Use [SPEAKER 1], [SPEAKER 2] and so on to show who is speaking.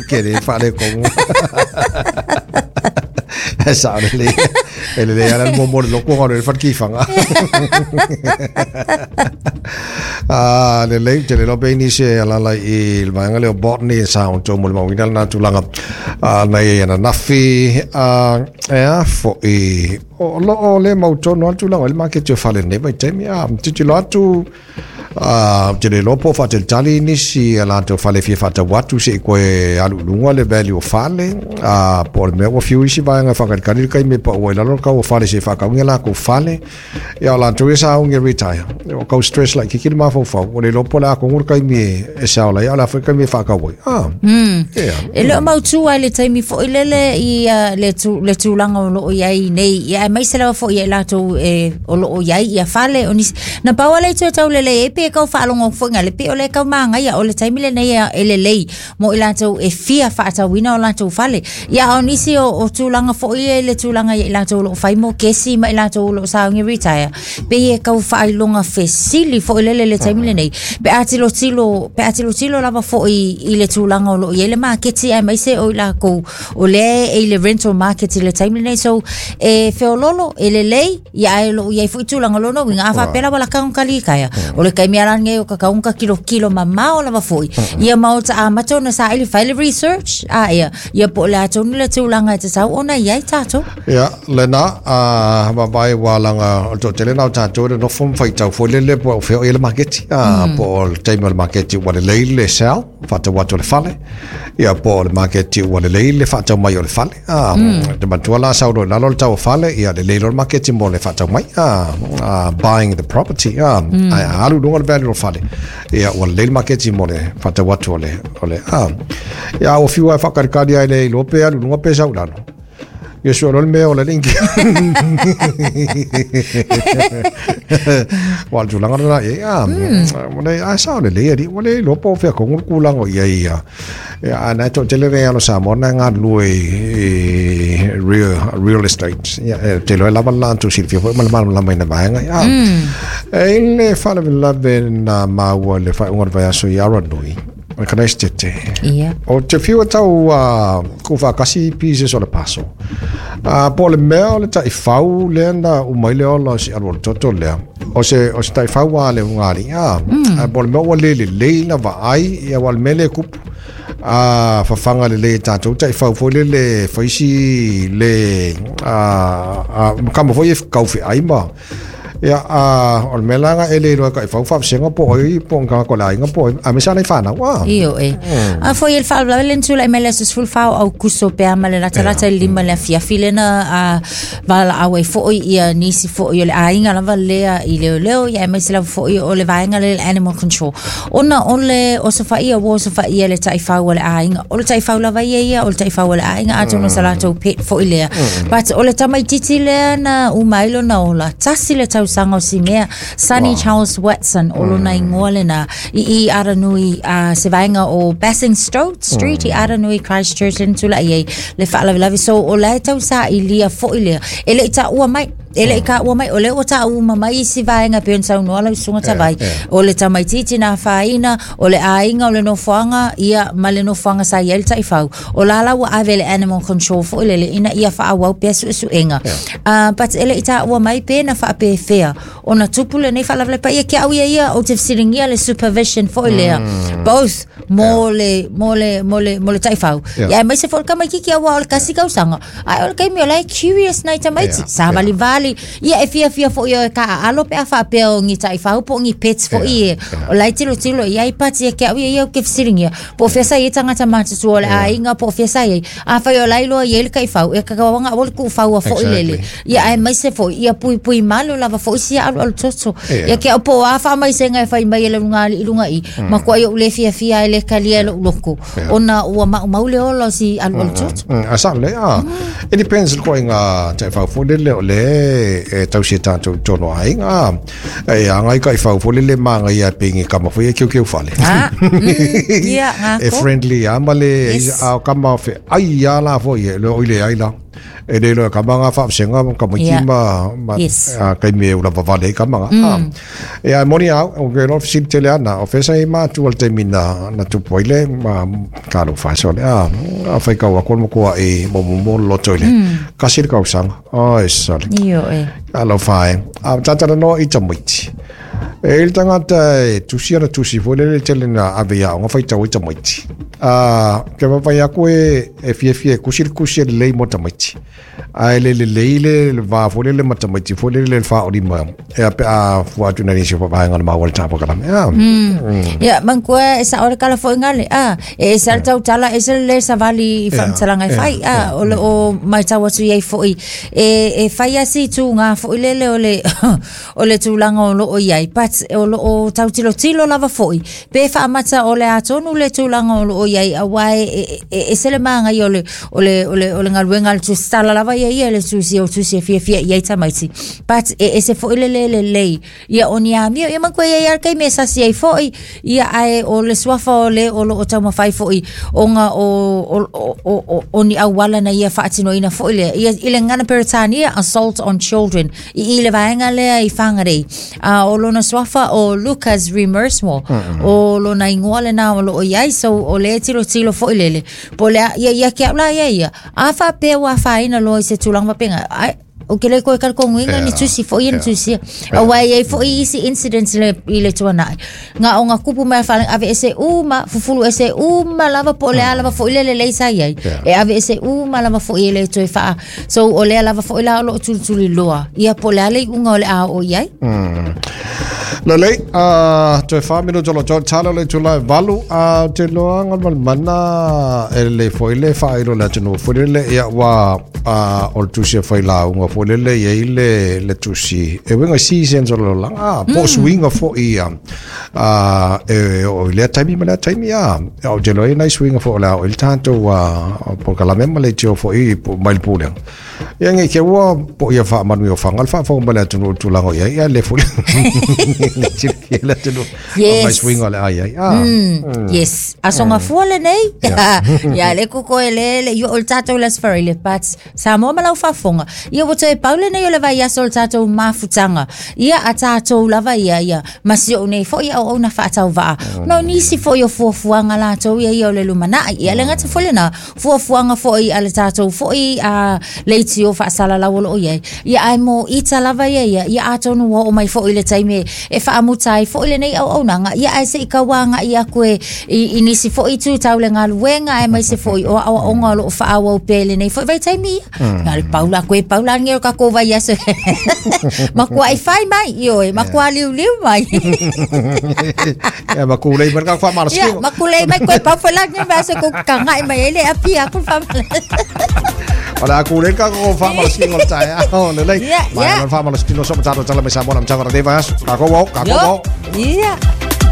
[SPEAKER 1] Ke le faaletonu. E sao lelei. E lelei lava le muamua o le lotu ona alu ai le fale tifaga. Ah, lelei, ou te le iloa pe i ai nisi e alaala i le vaega lea o Botany e sa outou molimauina lena tulaga ah, na i ai ananafi. Ah, e a foi, o lo o le mautonu lava le tulaga i le maketi o fale i lenei vaitaimi. Ah, tilotilo atu, Ā, ou te le iloa po o faatalitali nisi i a latou fale e fia faatau atu se i toe alu i luga le value o fale, ā, po o le mea ua fiu isi vaega e faatalitali le taimi e pau ai i lalo le tau o fale se i faatau ni a latou fale. Ia, o latou ia sa augi e retire. Ua tau stress laitiiti le mafaufau, ua le iloa po o le a tonu le taimi e sell ai, a o le a foi le taimi e faatau ai. Ā,
[SPEAKER 2] ia. E le o mautū lava i le taimi foi lele i le, tu, le tulaga o lo o i ai nei, ia, aemaise lava foi ia i latou e, o lo o i ai ia fale o nisi. Na pau lava le itu e taulelei ai, pei e tau faalogo atu foi ina le pei o lea e tau magaia, o le taimi lenei e, e lelei mo i latou e fia faatauina o latou fale. Ia, a o nisi o, o tulaga foi ia i le tulaga ia i latou o lo o fai mokesi ma i latou o lo o sauni retire, pei e tau faailoga fesili foi lele i le taimi lenei. Pe a tilotilo, pe a tilotilo lava foi i le tulaga o lo o i ai le maketi aemaise o i lakou o lea e i le rental market i le taimi lenei. So, e feololo, e lelei, ia ae o lo o i ai foi tulaga lona uiga, a faapea lava laka ona kalikaea, o le taimi lava lenei o tatau ona tilotilo mamao lava foi, ia ma o ta amata ona saili fai le research, a ia, ia po o le a tonu le tulaga e tatau ona i ai tatou.
[SPEAKER 1] Ia, lena, a vaavaai ua laga o le toatele lena o tatou e nonofo ma faitau foi lele po o fea o i ai le maketi, a, po o le taimi o le maketi ua lelei le sell, faatau atu o le fale, ia po o le maketi ua lelei le faatau mai o le fale, a, te manatua la sau loa i lalo le tau o fale, ia lelei loa le maketi mo le faatau mai, a, a, buying the property, a, ae a alu i luga le value o le fale, ia ua lelei le maketi mo le faatau atu o le, o le, a, ia ua fiu lava e faakalikali lava e le iloa pe alu i luga pe sau i lalo. Ia sua loa le mea ola le India. Wa le tulaga lena i ai. Ah, ua le, a sao lelei alii, ua le iloa po o fea tonu le tulaga o i ai ia. Ia, a na e toatele nei alo Samoa na e galulue i real estate. Ia, e te iloa e lava le latou silafia foi ma le malamalama i na vaega. Ia, e i le faalavelave na maua i le faaiuga o le vaiaso i Aranui, O le Karaisitete.
[SPEAKER 2] Ia.
[SPEAKER 1] O te fiu e tau uh, tuufaatasi pieces o le puzzle. Uh, po o le mea o le taifau lea na uma ai le ola o si alualu toto lea. O se, o se taifau a le ugali'i. Ah, mm. po o le mea ua le lelei na vaai, ia ua le mea lea e tupu. A fafaga lelei e tatou taifau foi lele fai si le a, a, kama foi e kaufeai ma Ia, a, o le mea la lena e le iloa e taifau faavasega po o ai, po o ni tagata o le aiga po o ai, aemaise lava nai fanau, a.
[SPEAKER 2] Ioe. A foi e le faalavelave le na tulai mai le aso 14 o Aukuso pe a ma le latalata i le 5 i le afiafi lea na a, valaau ai foi ia nisi foi o le aiga lava lea i leoleo ia aemaise lava foi o le vaega lea le animal control. Ona o le osofaia ua osofaia le taifau a le aiga. O le taifau lava ia ia, o le taifau a le aiga, atonu o sa latou pet foi lea. But o le tamaititi lea na uma ai lona ola, tasi le tausaga o si mea, Sonny Charles Watson, o lona ingoa lena, i i Aranui, uh, se vaega o Basingstoke Street i Aranui, Christchurch, lena tulai ai le faalavelave. So o la e tau sailia foi lea. E le i taua mai, E le i taua mai, o lea ua taua uma mai isi vaega e pei ona saunoa lau Susuga Tavai, o le tamaitiiti na afaina, o le aiga, o le nofoaga, ia, ma le nofoaga sa i ai le taifau. O la la ua ave i le animal control foi lele ina ia faaauau pea suesuega. Uh, but e le i taua mai pe na faapefea ona tupu lenei faalavelave paia ke au ia ia ou te fesiligia le supervision foi lea, both mo le, mo le, mo le, mo le taifau. Ia, aemaise foi o le tamaitiiti aua o le tasi tausaga, Ae o le taimi o la e curious nai tamaiti, yeah, savalivali, yeah. Ia e fiafia foi o e taaalo pe a faapea o ni taifau po o ni pets foi yeah, e. Yeah. O la e tilotilo i ai pati e ke au ia ia ou te fesiligia. Po o fea sa i ai tagata matutua o le yeah. aiga, po o fea sa i ai. Afai o la e iloa i ai le taifau, e tatau ona aua le tuufaua foi exactly. lele. Ia aemaise foi, ia puipui malu lava foi sia alualu toto. Yeah. Ia ke au po o a faamaisega e fai mai e le luga alii luga i, mm. matuai ou le fiafia ai le talia e lou loto. Ona ua maumau le ola o si alualu toto.
[SPEAKER 1] A sao lelei, a. E depends le ituaiga taifau foi lele o lea e tausi e tatou i totonu o aiga, a. E agai taifau foi lele manaia pei ni kama foi e keukeu fale.
[SPEAKER 2] A, ia,
[SPEAKER 1] E
[SPEAKER 2] ngako.
[SPEAKER 1] friendly lava ma le,
[SPEAKER 2] Yes.
[SPEAKER 1] a o kama feai lava la foi e, o i leai la. E le iloa e kamaga faavaseaga ma tamaiti ma ma taimi e ula vavale ai kamaga. Ia e moni au, o ke loa fesili tele ana, o fea sa i matua i le taimi na na tupu ai le ma talofa e sole a faitau atu le matua i momomo le loto i le kasi le tausaga. Oi sole.
[SPEAKER 2] Ioe.
[SPEAKER 1] Talofa e. A ta talanoa i tamaiti. E i le tagata e tusi ana tusi foi lele tele na ave i aoga faitau ai tamaiti. A ke vaavaai atu e e fiafia e kusi le kusi e lelei mo tamaiti. Ae le lelei le le va foi lele ma tamaiti foi lele le faaolima e pe a fua atu nai nisi o vaega na maua le tapa kalame. Ah.
[SPEAKER 2] Ia, manatua e sao le tala foi gale. Ah, e ese lava le tautala, ese le lē savali i faamatalaga e fai. Ah, o lo o matau atu i ai foi e e fai lava si ituga foi lele o le o le tulaga o lo o i ai, but o lo o tautilotilo lava foi pe faamata o le a tonu le tulaga o lo o i ai, aua e e ese le magaia o le o le o le o le galuega a le tusitala lava ia ia le tusi o tusi e fiafia i ai tamaiti, but e ese foi le lē lelei ia o ni amio ia manatua e i ai lava le taimi e sasi ai foi ia ae o le suafa o le o lo o taumafai foi ona o o o o o ni auala na ia faatinoina foi lea ia i le gagana Peretania assault on children i i le vaega lea i Whangarei. A o lona suafa o Lucas Remersmo. O lona igoa lena o lo o i ai, so o le tilotilo foi lele. Po o le a, ia, ia ke au la ia ia. A faapea ua afaina loa i se tulaga faapena, ai, ou te le toe talitonuina ni tusi foi ia na tusia. Aua e i ai foi isi incidents i le, i le tuanai. Na ona tupu mai a faalaga, aveese uma, fufulu ese uma lava po o le a lava foi le lelei sa i ai. E aveese uma lava foi e le toe faa So o lea lava foi la o lo o tulituli loa ia po o le a le iuga o le a oo i ai.
[SPEAKER 1] Lelei, toe 4 minuta o lo toe tala o le itula e 8, ou te iloa Galumalemana e lelei foi le faailo i le atunuu foi lele, ia ua o le tusi a failauga foi lele e i ai le, le tusi e uiga i seasons o le lalolagi, po o suiga foi ia e oo i lea taimi ma lea taimi a ou te iloa e i ai nai suiga foi o le a oo i le tatou polokalame ma leitio foi mai le pulega ia nei te ua po ia faamanuia o faga le faafofoga mai le atunuu i le tulaga o i ai ia le foi le silafia le atunuu
[SPEAKER 2] Yes.
[SPEAKER 1] mai suiga o le a i ai
[SPEAKER 2] Yes. Aso gafua lenei. Ia le koko e le le i oo i le tatou le Aso Faraile but Samoa ma lau faafofoga. Ia ua toe pau lenei o le vaiaso o le tatou mafutaga. Ia a tatou lava ia, ia, ma si ou nei foi auauna faatauvaa. Ona o nisi foi o fuafuaga latou ia ia o le lumanai. Ia le gata foi lena, fuafuaga foi a le tatou foi a leitio faasalalau o lo o i ai. Ia ae mo ita lava ia ia, ia atonu ua oo mai foi le taimi e faamuta ai foi lenei auaunaga, ia ae se i tau agai atu e i, i nisi foi itu tau le galuega aemaise foi o aoaoga o lo o faaauau pea i lenei foi vaitaimi ia. Na o le pau la koe pau la lenei o le tatou vaiaso. Makuai fai mai, ioe, makuā liuliu mai.
[SPEAKER 1] Ia ma kulei mai le tatou
[SPEAKER 2] faamalositino. Ia, ma kulei mai koe pau foi la lenei vaiaso e kou kaga'i mai ai le api aku le faamalositino.
[SPEAKER 1] O le a kulei le tatou faamalositino o le taeao lelei.
[SPEAKER 2] Ia,
[SPEAKER 1] Mai
[SPEAKER 2] ia.
[SPEAKER 1] le faamalositino so ma tatou tala mai Samoa na matava lenei vaiaso. Tatou o, tatou
[SPEAKER 2] Io,
[SPEAKER 1] o.
[SPEAKER 2] ia.